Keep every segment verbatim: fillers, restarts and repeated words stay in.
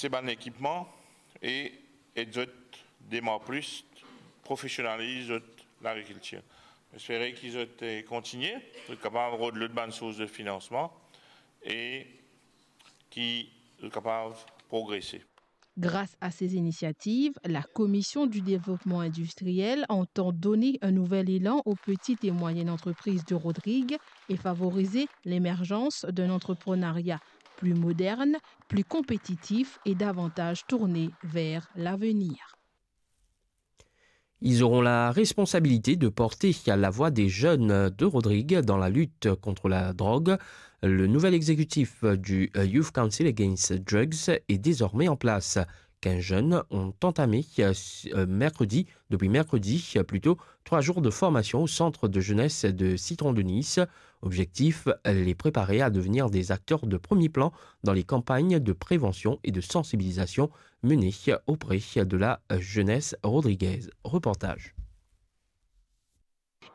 aste bann ekipman e ed zot demar plis, profesionaliz zot lagrikiltir. Espere ki zot, eh, kontigne, zot kapav rod lot bann sours de finansman e ki zot kapav progrese. Grâce à ces initiatives, la Commission du développement industriel entend donner un nouvel élan aux petites et moyennes entreprises de Rodrigues et favoriser l'émergence d'un entrepreneuriat plus moderne, plus compétitif et davantage tourné vers l'avenir. Ils auront la responsabilité de porter la voix des jeunes de Rodrigues dans la lutte contre la drogue. Le nouvel exécutif du, euh, Youth Council Against Drugs est désormais en place. Quinze jeunes ont entamé, euh, mercredi, depuis mercredi, euh, plutôt, trois jours de formation au centre de jeunesse de Citron de Nice. Objectif, les préparer à devenir des acteurs de premier plan dans les campagnes de prévention et de sensibilisation menées auprès de la jeunesse rodriguaise. Reportage.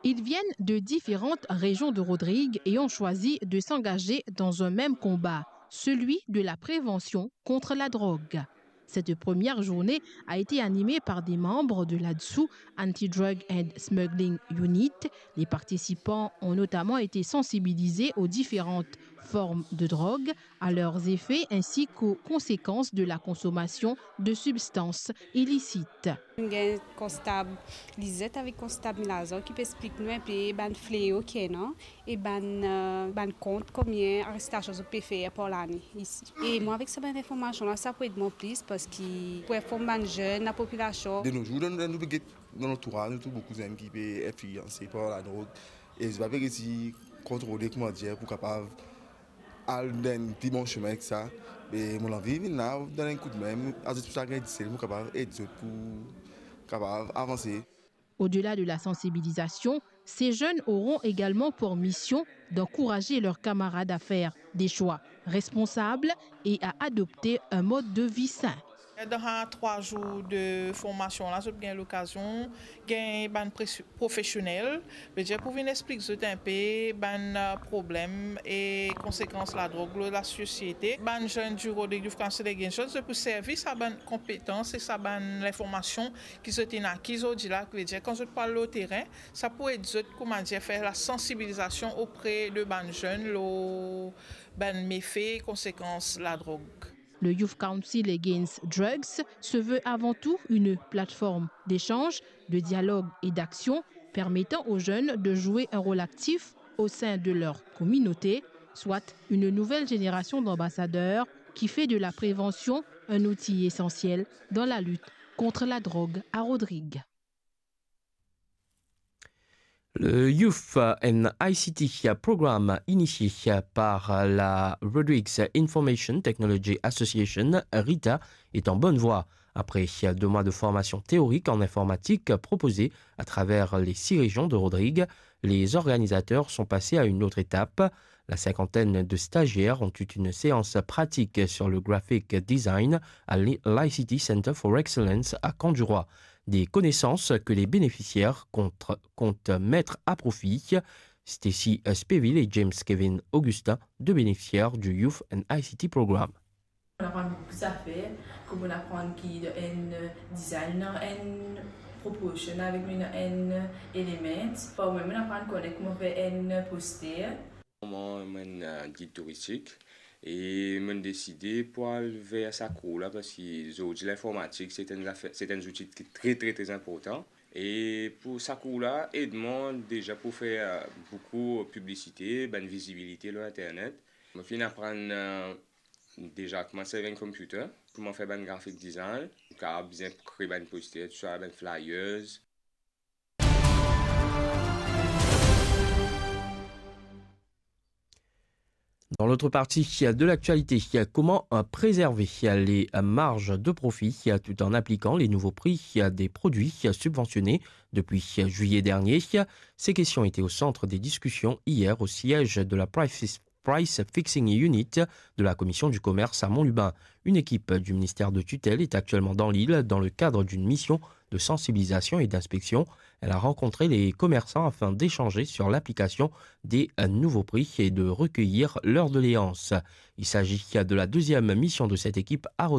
Ils viennent de différentes régions de Rodrigues et ont choisi de s'engager dans un même combat, celui de la prévention contre la drogue. Cette première journée a été animée par des membres de l'ADSU, Anti-Drug and Smuggling Unit. Les participants ont notamment été sensibilisés aux différentes formes de drogue, à leurs effets ainsi qu'aux conséquences de la consommation de substances illicites. Nou gagn konstab Lizet avek konstab Milazor ki pe explik nou inpe bann fleo ki ena e bann, euh, bann kont konbien arestasion zot pe fer par lane isi. E mwa avek sa bann informasion la, sa pou ed mwa plis parski pou inform bann zenn, lapopilasion. De nos jours, dan, dan nou pe get, dan lantouraz, nou trouv boukou zenn ki pe inflianse par ladrog e zot pa pe resi kontrole, kouma dir, pou kapav al dan enn pli bon simin ek sa. Me mo anvi vinn la, donn enn koudmin, azout pou sa gagn disel, pou kapav ed zot pou kapav avanse. Au-delà de la sensibilisation, ces jeunes auront également pour mission d'encourager leurs camarades à faire des choix responsables et à adopter un mode de vie sain. Dan sa trwa zour de formasion la, zot gagn lokazion gagn bann pres-, profesionel, vedir pou vinn explik zot inpe bann, euh, problem e konsekans ladrog lor lasosiete. Bann zenn di Rodrigues Youth Council Against Drugs, zot pou servi sa bann konpetans e sa bann linformasion ki zot inn akiz zordi la, ki vedir kan zot pou al lor terin, sa pou ed zot, kouma dir, fer lasansibilizasion opre de bann zenn lor bann mefe, konsekans ladrog. Le Youth Council Against Drugs se veut avant tout une plateforme d'échange, de dialogue et d'action permettant aux jeunes de jouer un rôle actif au sein de leur communauté, soit une nouvelle génération d'ambassadeurs qui fait de la prévention un outil essentiel dans la lutte contre la drogue à Rodrigues. Le Youth and I C T Programme, initié par la Rodrigues Information Technology Association, RITA, est en bonne voie. Après deux mois de formation théorique en informatique proposée à travers les six régions de Rodrigues, les organisateurs sont passés à une autre étape. La cinquantaine de stagiaires ont eu une séance pratique sur le graphic design à l'I C T Center for Excellence à Camp du Roi. Des connaissances que les bénéficiaires compte-, comptent mettre à profit. Stacy Speville et James Kevin Augustin, deux bénéficiaires du Youth and I C T Programme. Mo aprann boukou zafer, kouma aprann ki dan enn design, dan enn proportion avek nou dan enn element. Par mem, mo aprann konek kouma fer enn poster. Mwa, mo'nn, euh, gid touristik e mo'nn deside pou al ver sa kour la, parski zordi linformatik se enn zafer, se enn zouti ki tre, tre, tre inportan. E pou sa kour la, ed mwa deza pou fer, euh, boukou piblisite, bann vizibilite lor internet. Mo finn aprann, euh, deza kouma servi enn computer, kouma fer bann graphic design, kapav bizin kre bann poster, tousa, bann flyers. Dans l'autre partie de l'actualité, comment, euh, préserver les, euh, marges de profit, euh, tout en appliquant les nouveaux prix, euh, des produits, euh, subventionnés depuis, euh, juillet dernier ? Ces questions étaient au centre des discussions hier au siège de la Price, Price Fixing Unit de la Commission du commerce à Mont-Lubin. Une équipe du ministère de tutelle est actuellement dans l'île dans le cadre d'une mission de sensibilisation et d'inspection. Elle a rencontré les commerçants afin d'échanger sur l'application des, euh, nouveaux prix et de recueillir leurs doléances. Il s'agit de la deuxième mission de cette équipe à Rodrigues.